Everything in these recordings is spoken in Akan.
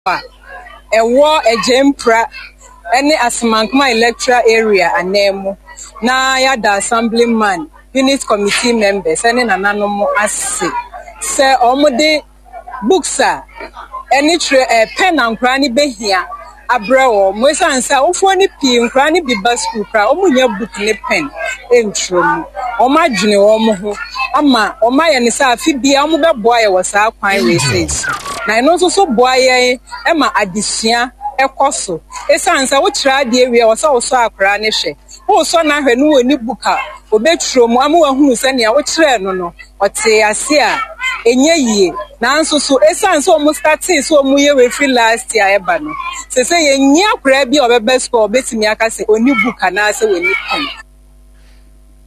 A ɛwɔ Agyempra ne Asemankoma Electoral Area ananmu na yɛada Assemblyman, Unit Committee members ne nananom ase sɛ wɔde books a ɛne twerɛ ɛɛ pen a nkwadaa no bɛhia abrɛ wɔn. Esiane sɛ awofoɔ no pii nkwadaa no bi ba sukuu koraa a wɔnnya book ne pen ntwerɛ mu. Wɔadwene wɔn ho ama wɔayɛ no sɛ afe biara wɔbɛboa yɛn wɔ saa kwan wei sei so. Na ɛno nso so boa yɛn ma adesua kɔ so. Esiane sɛ wokyerɛ adeɛ wie a, ɛwɔ sɛ wosɔ akwadaa no hwɛ. Wosɔ no ahwɛ no ɔnni book a, ɔbɛtwerɛ mu ama wahunu sɛ nea wokyerɛɛ no no, ɔtee ase a, ɛnyɛ yie. Nanso so esiane sɛ wɔn startee sɛ wɔyɛ wei firi last year ɛba no, seesei yɛnni akwadaa bi a ɔbɛba sukuu a ɔbɛtumi aka sɛ ɔnni book anaasɛ ɔnni pen.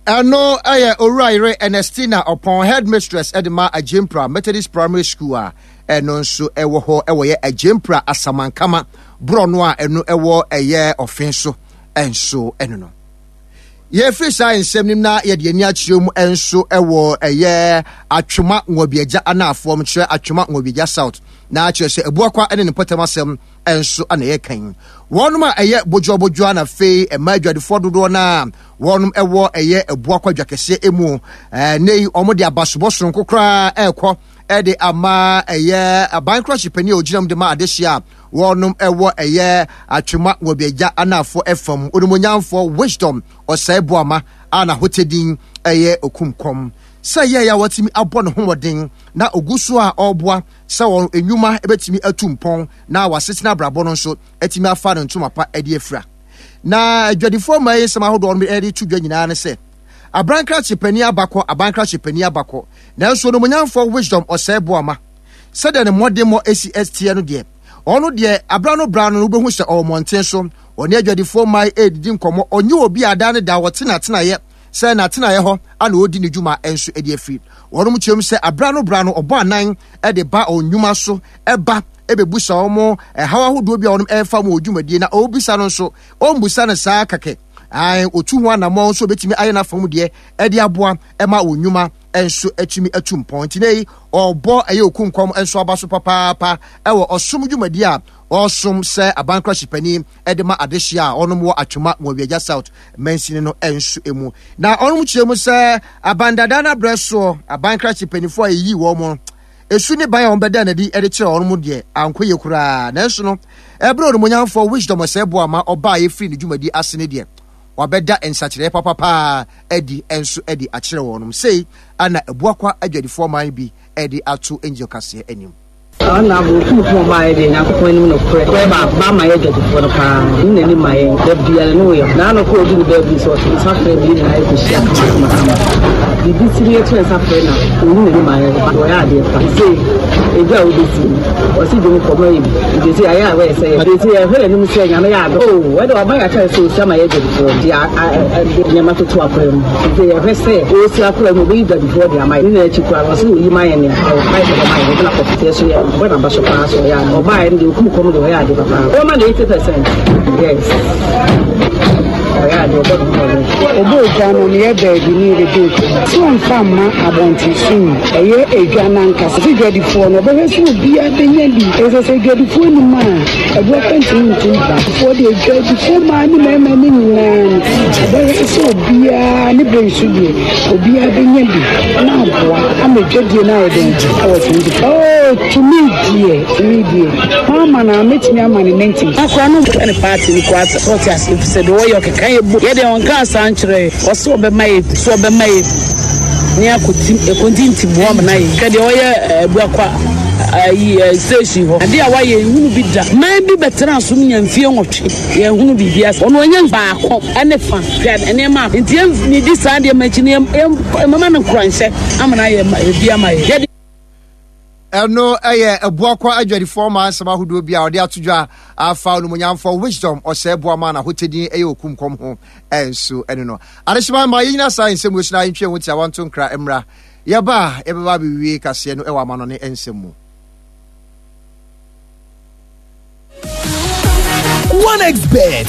Ɛno yɛ Owurayere Ernestina Ɔpɔn, Headmistress de ma Agyempra Methodist Primary School a ɛno nso ɛwɔ hɔ ɛwɔ yɛ Agyempra Asamankama borɔno a ɛno ɛwɔ ɛyɛ ɔfen so nso ɛno no. Yɛfiri saa nsɛm nim na yɛde ani akyerɛ mu nso ɛwɔ ɛyɛ Atwoma Nwabiagya anaafoɔ kyerɛ Atwoma Nwabiagya South na kyerɛ sɛ Abuakwa ne ne mpɔtam asɛm nso na yɛka yi. Wɔnom a ɛyɛ bodwoabodwoa na afei mmaa adwadifoɔ dodoɔ no a wɔnom ɛwɔ ɛyɛ Abuakwa dwakɛseɛ emu ɛnɛ yi wɔn de abasobɔ soronko koraa ɛrekɔ ɛde ama ɛyɛ aban krakye panin a ogyina mu de ma adehyeɛ a wɔnom ɛwɔ ɛyɛ Atwema Nwabiagya anaafoɔ ɛfam onimonyamfoɔ Wisdom Ɔsɛe Boama a n'ahotɛdin ɛyɛ Okumkɔm sɛ yɛɛ a watumi abɔ ne ho mmɔden na ogu so a ɔreboa sɛ wɔn nnwuma bɛtumi atu mpɔn na wɔasetena abrabɔ no nso atumi afa no ntoma pa de afira. Na adwadifoɔ mmaa yi nsɛm ahodoɔ no de to dwa nyinaa ne sɛ, abrankrakye panin abakɔ, abankrakye panin abakɔ, nanso onimuonyamfoɔ Wisdom Ɔsɛe Boama, sɛdeɛ ne mmɔdemmɔ si teɛ no deɛ, ɔno deɛ abra no bra no no wobɛhu sɛ ɔwɔ mmɔnten so, ɔne adwadifoɔ mmaa yi redidi nkɔmmɔ, ɔnyɛ obi a daa ne daa ɔte n'atenaeɛ sɛ n'atenaeɛ hɔ a na ɔredi ne dwuma nso de afiri. Wɔnom kyerɛ mu sɛ abra no bra no ɔbɔ anan de ba wɔn nnwuma so ba bɛbusa wɔn ɛhaw ahodoɔ bi a wɔnom ɛrefa mu wɔ dwumadie na ɔrebisa no nso ɔmbusa no saa kɛkɛ. Ae, ɔtu ho anammɔn nso ɔbɛtumi ayɛ n'afa mu deɛ ɛde aboa ma wɔn nnwuma nso atumi atu mpɔn. Nti na yi ɔrebɔ ɛyɛ okunkwam nso aba so papaapa ɛwɔ ɔsom dwumadie a ɔresom sɛ abankra panin de ma adehyeɛ a ɔnom wɔ Atwoma Nwawiagya South mansini no nso mu. Na ɔnom kyerɛ mu sɛ abandadaa no abrɛ soɔ aban krakye mpanimfoɔ a yɛyii wɔn no, esu ne ban a wɔbɛdaa no adi de kyerɛ wɔn deɛ ankɔ yie koraa. Nanso no, ɛberɛ onimuonyamfoɔ Wisdom Osei Boamah ɔbaeɛ firii ne dwumadie ase no deɛ, wabɛda nsakyeraeɛ papa paa adi nso de akyerɛ wɔn. Sei na Abuakwa adwadifoɔ man bi de ato Angel Kaseɛ anim. Ɔno abo otumfoɔ ɔbaa yɛ deɛ Nyankopɔn anim nokorɛ korɛ ba ba ma yɛ dwadifoɔ no paa ɔno n'anim ma yɛn da biara ne woyɛ na ano kɔ ɔdu ne baabi sɛ ɔto nsa frɛ bi nyinaa yɛ kɔhyia kama kama kama biribi si ne yɛto nsa frɛ na ɔnu n'anim ma yɛn ba ɔyɛ adeɛ pa sɛ ɛdwa a wobɛsi ɔse dwom kɔ ma yɛ bi nti sɛ ayɛ a wɔyɛ sɛ yɛ nti yɛhwɛ n'anim sɛ Nyame yɛ adɔ o wɔde ɔba yɛ akyɛre sɛ ɔsi ama yɛ dwadifoɔ de nneɛma toto akora mu nti yɛhwɛ sɛ ɔsi akora mu ɔbɛyi dwadifoɔ de ama yɛ ne nyinaa akyi koraa no ɔse ɔyi ma yɛ nea Yɛ so yɛ bɔ n'aba so paa so ɔyɛ ade ɔbaa yɛ no deɛ okum kɔm deɛ ɔyɛ ade papa wɔma no 80% yes ɔyɛ ade ɔbɔ ne ho mmɔden. Ɔbɔ odwa no ne yɛ baabi ne yɛbɛdi odwa sɛ ɔmfa mma abɔnten so yi ɛyɛ edwa no ankasa sɛ dwadifoɔ no ɔbɛhwɛ sɛ obiara bɛnya bi ɛsɛ sɛ dwadifoɔ nim a ɛboɔ pɛ ntumi ntu mpa foɔ deɛ dwadifoɔ mmaa ne mmarima ne nyinaa no ɔbɛhwɛ sɛ obiara ne berɛ nso deɛ Obiara bɛnya bi na aboa ama dwadie no ayɛ dɛn ɛwɔ 24. Oh, tumi deɛ, tumi deɛ. Mama na mɛtumi ama ne 90. Akora no mpɛ ne party no koraa sɛ ɔte ase efisɛ deɛ ɔyɛ ɔkeka yɛ bo yɛ deɛ ɔnka saa nkyerɛ yɛ ɔsɛ ɔbɛma yɛ bi sɛ ɔbɛma yɛ bi ne akɔtim ɛkɔntintim hɔ amena yɛ hwɛ deɛ ɔyɛ abuakwa ayi station hɔ adeɛ a wayɛ nhunu bi da man bi bɛtena so nya mfie nwɔtwe yɛn hunu biribi ase ɔno ɔnya baako ɛne fa. Hwɛ nneɛma a nti yɛn di saa nneɛma akyi no yɛn mama no nkuranhyɛ ama no ayɛ ebi ama yɛ. Yɛde. Ɛno yɛ Abuakwa adwadifoɔ maa nsɛm ahodoɔ bi a ɔde ato dwa afa onimonyamfoɔ Wisdom Ɔsɛe Boama n'ahotɛdin yɛ okumkɔm ho nso ɛno no. Adehyema ma yɛnyina saa nsɛm wei so na yɛntwe yɛn ho tiawa nto nkra mmra. Yɛba a yɛbɛba abɛwie kaseɛ no wɔ amanɔne nsɛm mu. 1xBet.